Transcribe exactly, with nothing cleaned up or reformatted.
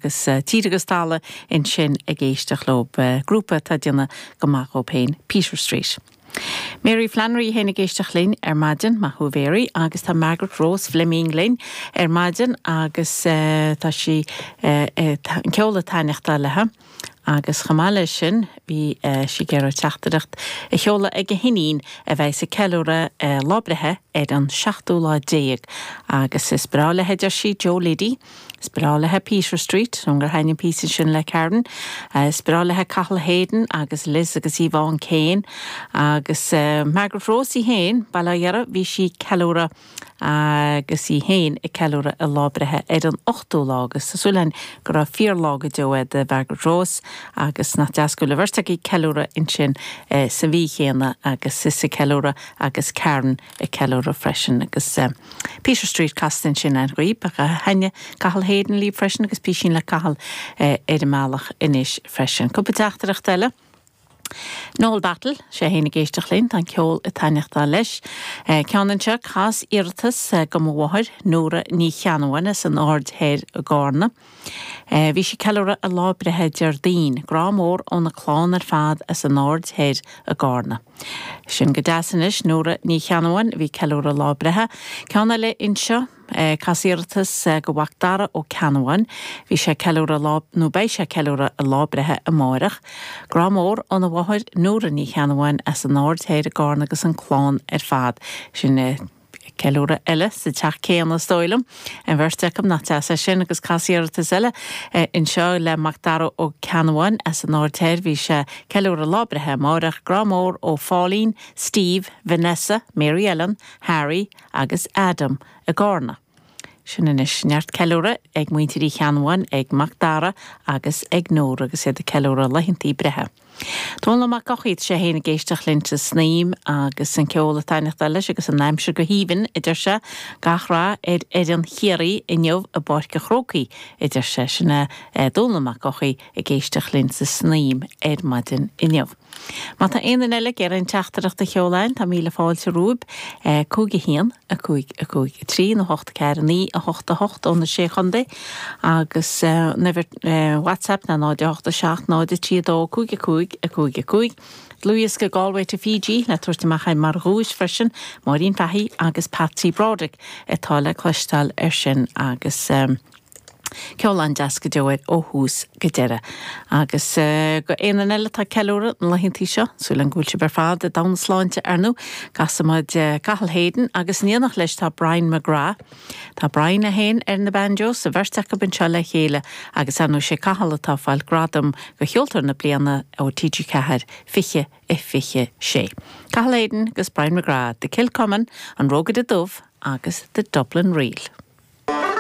agus tír agus talamh ansin ag éisteacht leo grúpa atá ag déanamh go maith dóibh féin Peter Street. Mary Flannery féin ag éisteacht linn ar maidin maith thú Mary agus tá Margaret Rose Fleming linn ar maidin agus uh, tá sí uh, uh, an ceol ag taitneamh léi. Agus chomh maith leis sin bhí uh, sí ag iarraidh teachtaireacht a sheoladh ag a hiníon a bheidh ag ceiliúradh uh, lá breithe ar an seachtú lá déag agus is breá léi deir sí Joe Liddy, Is breá léi Peter Street an gur thaitin píosa sin le Karen, uh, is breá léi Cathal Hayden agus Liz agus Yvonne Kane agus uh, Margaret Rose í féin bail ó Dhia uirthi bhí sí ceiliúradh agus í féin ag ceiliúradh a lá breithe ar an ochtú lá agus tá súil go raibh fíorlá go deo do Margaret Rose agus nach deas go bhfuil beirt ag ceiliúradh ansin eh, sa mhí chéanna agus is ag ceiliúradh agus Karen ag ceiliúradh freisin agus uh, Peter Street casta ansin agaibh a thaitin Cathal Hayden libh freisin agus píosa le Cathal eh, ar an mbealach anois freisin. Cúpla teachtaireacht eile. Noel Battle sé féin ag éisteacht linn tá ceol ag taitneamh leis. Ceann anseo cas iarratas do mo mháthair Nóra Ní Cheannabháin san Aird Thoir i gCarna. Bhí sí ag ceiliúradh a lá breithe Déardaoin, grá mór óna clann ar fad as an Aird Thoir i gCarna. Sin go deas anois Nóra Ní Cheannabháin bhí ceiliúradh lá breithe. Ceann eile anseo cas iarratas go Mhac Dara Ó Ceannabháin, bhí sé ceiliúradh lá nó beidh sé ceiliúradh a lá breithe amárach. Grá mór óna mháthair Nóra Ní Cheannabháin as an Aird Thoir i gCarna agus an clann ar fad. Sin ceiliúradh eile sa teach céanna is dóigh liom. An bheirt acu nach deas é sin agus cas iarratas eile anseo le Macdara Ó Ceannabháin as an Aird Thoir bhí sé ceiliúradh lá breithe amárach grá mór ó Pháilín, Steve, Vanessa, Mary Ellen, Harry agus Adam i gCarna. Sin anois neart ceiliúradh ag muintir Uí Cheannabháin ag Macdara agus ag Nóra agus iad ag ceiliúradh laethantaí breithe. Dónall Mac Eochaidh sé féin ag éisteacht linn sa Snaidhm agus an ceol ag taitneamh leis agus an aimsir go haoibhinn a deir sé gach rath ar fhoireann Chiarraí inniu i bPáirc an Chrócaigh a deir sé sin Dónall Mac Eochaidh ag éisteacht linn sa Snaidhm ar maidin inniu. Má tá aon duine eile ag iarraidh teachtaireacht a sheoladh tá míle fáilte romhaibh cúig a haon a cúig a cúig a trí nó hocht ceathair naoi a hocht a hocht ó na sé chontae agus uimhir WhatsApp ná náid a hocht a seacht náid a trí dó cúig a cúig a cúig a cúig. Dlúthdhiosca Galway to Fiji le tabhairt amach mar dhuais freisin Máirín Fahey agus Patsy Broderick atá le cloisteáil ar sin agus um, ceol an-deas go deo ó thús go deireadh. Agus uh, go aon eile atá ag ceiliúradh na laethantaí seo, súil go bhfuil sibh ar fad i dtona sláinte ar ndóigh, casfaimid uh, Cathal Hayden agus in éineacht leis tá Brian McGrath. Tá Brian é féin ar na banjos sa bheirt acu anseo le chéile agus anú sé Cathal atá ag fáil gradam do cheoltóir na bliana ó TG Ceathair fiche i fiche sé. Cathal Hayden agus Brian McGrath, The Kilcommon, an Rógaide Dubh agus The Dublin Reel.